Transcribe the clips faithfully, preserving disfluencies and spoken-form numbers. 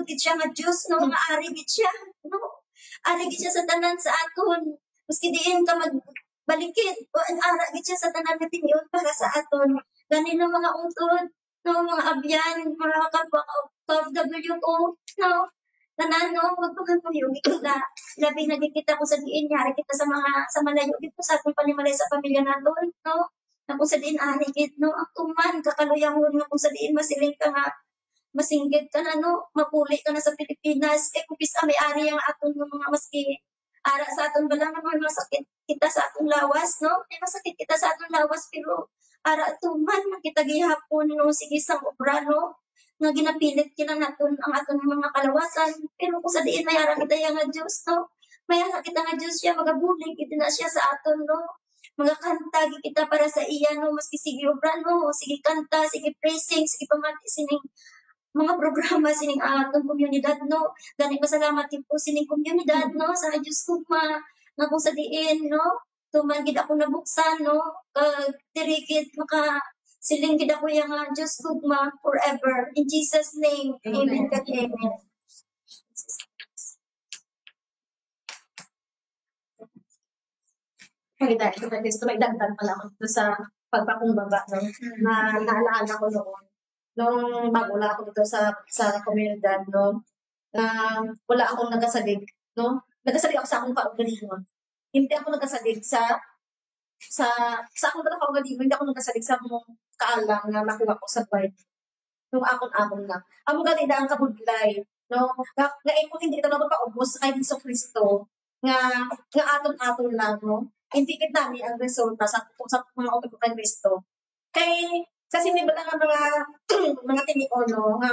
gid siya nga Dios, no? Nga ari gid siya, no? Ari gid siya sa tanan sa aton. Maski diin ka magbalikid, o ang ara gid siya sa tanan nga tinion para sa aton. Gani, no, mga utod, no, mga abyan, mga kapwa ka O F W ko, no? Tanan, no, magpakatuyog kita. Labi na gid kita kung sa diin yari kita sa mga, sa malayo gid sa aton panimalay sa pamilya naton, no? Na kung sa diin ari gid, no, ang tuman kakaluyahon nga kung sa diin masiling ka nga masinggit ka na, no, mapuli ka na sa Pilipinas. Kay kung bisa may ari ang aton nga mga maski ara sa aton bala nga mga masakit kita sa atong lawas, no? May masakit kita sa atong lawas, pero ara tuman man kita gihapon, no, sige sang obra, no, nga ginapilit kita naton ang aton mga kalawasan. Pero kung sa diin may ara kita ya nga Dios, no, may ara kita nga Dios, siya magabulig gid na siya sa aton, no? Magakanta gid kita para sa iya, no? Maski sige obra, no? Sige kanta, sige praising, sige pamati sining mga programa sining aton komunidad, no? Gani, pasalamat gid ko sining komunidad, no? Sa Dios gugma, nga kung sa diin, no? Tuman gid ako nabuksan, no? Kag diri gid maka siling gid ako ya nga Dios gugma forever. In Jesus' name, amen, amen. Kag amen. Kaya dahil sa Kristo, may dagdag pala ako dito sa pagpakumbaba, no? Na naalala ko noon, nung bago lang ako dito sa, sa komunidad, no? Na wala akong nagasalig, no? Nagasalig ako sa akong kaugalingon. Hindi ako nagasalig sa, sa, sa akong pala kaugalingon, hindi ako nagasalig sa akong kaalam nga nakuha ko sa Bible. Nung akon-akon lang. Amo gani na ang kabudlay, no? Nga, nga imo hindi na magpaubos kay Hesus Kristo, nga, nga aton-aton lang, no? Hindi gid nami ang resulta sa, sa mga utod kay Kristo. Kay, kasi may bala nga mga, mga tinion, no? Nga,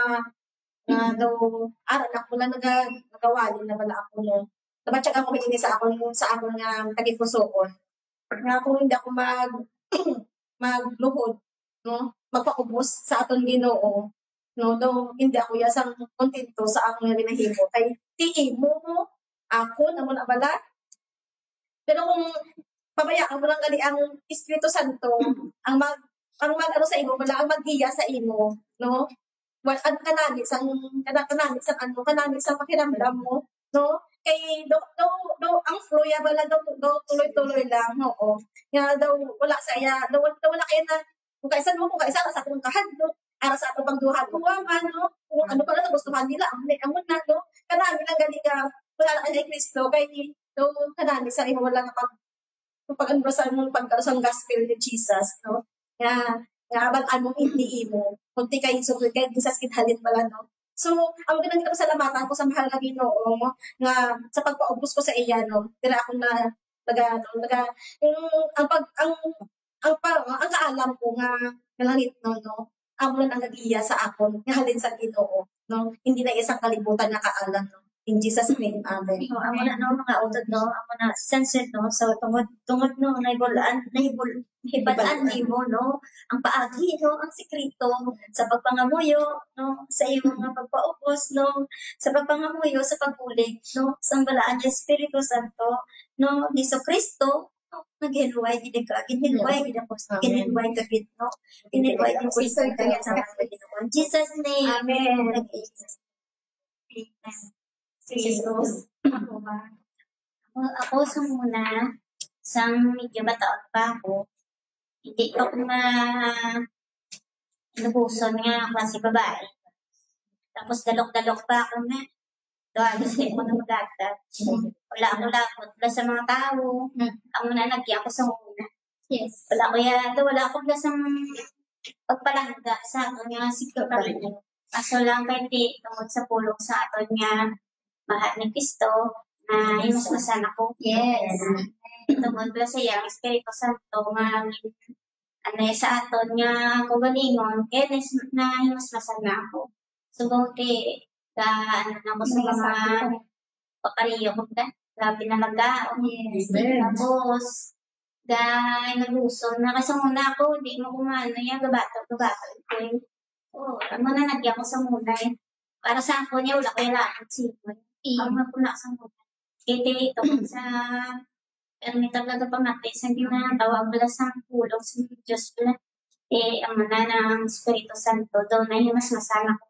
nga daw, ara na ko lang naga-, nagawali na bala ako, no? Nabatyagan ko ini sa akon, sa akon nga tagipusoon. Nga kung hindi ako mag-, magluhod, no? Magpaubos sa aton Ginoo, no? Daw hindi ako ya sang kontento sa akon nga ginahimo. Kay ti imo mo, ako, amo na bala. Pero kung pabayaan mo lang gali ang Espiritu Santo, ang mag-, ang mag-ano sa imo, wala ang maggiya sa imo, no? Wal-, ang kanami sang, kana-, kanami sang ano, kanami sang pakiramdam mo, no? Kay do, do, do, ang flow ya bala do, do, tuloy-tuloy lang, oo. Nga daw wala sa iya, daw, daw wala kaya na, kung kaisa mo, kung kaisa sa akong kahadlok, ara sa atong pagduha-duha man, no? Kung ano pala nagustuhan nila, ang, ang na, no? Kanami lang gali ka, wala na kay Kristo, kay do, kanami sa imo wala nga pag, kung pag-, ano sa imong pag-, sa gospel ni Jesus, no? Nga, nga abal amo hindi imo, kundi kay Jesus, kay Jesus gid halin pala, no? So, ang ginang kita pasalamatan ko sa mahal nga Ginoo, no? Nga sa pagpaubos ko sa iya, no? Dira ako na, naga, ano, naga, yung, ang pag, ang, ang pa, ang kaalam ko nga, nga langit, no, no? Amo lang ang nag-iya sa akon, nga halin sa Ginoo, no? Hindi na isang kalibutan nga kaalam, no? In Jesus' name, amen. So, amo na, no, mga utod, no? Amo na, censored, no? So, tungod, tungod, no, nahibul-an, nahibul-, nahibal-an nimo, no? Ang paagi, no? Ang sikreto sa pagpangamuyo, no? Sa imo nga pagpaubos, no? Sa pagpangamuyo, sa pagbulig, no? Sa balaan nga Espiritu Santo, no? Ni Jesu-Cristo, no? Naghinluway gid ka, ginhinluway gid ako, ginhinluway ka gid, no? Ginhinluway gid ko sa kanya sa mga Ginoo. In Jesus' name. Amen. Amen. Sis Rose, ako ba? Ako, ako sa muna, sang medyo bata pa ako, hindi ko ma-, inubuson nga klase babae. Tapos dalok-dalok pa ako nga. Do, halos di ko na mag-attach. Wala ako lapot na sa mga tao. Hmm. Amo na, nagya ako sa una. Yes. Wala ko ya, do, wala ako na sa pagpalangga sa akon nga sikreto. Kaso lang kay ti, tungod sa pulong sa aton nga mahal ni Cristo, na himasmasan ako. Yes. Tungod pala sa iyang Espiritu Santo nga, ano, sa aton nga kaugalingon, kaya nas-, na himasmasan na ako. Subong ti, ka, ano na ako sa mga pakariyo ko ka, grabe na magkaon. Yes. Amen. Tapos, ga, naguson na. Kasi muna ako, di mo kumano yan, gabato, gabato ko eh. Oo, amo na nagya ko sa muna eh. Para sa ako niya, wala ko yung lahat sa imo. Ang ako na sa muna. Kaya ito, sa Pero may talaga pamati sa ginatawag bala sa pulong sa Diyos bala. Eh, ang mana ng Espiritu Santo, daw na himasmasan ako.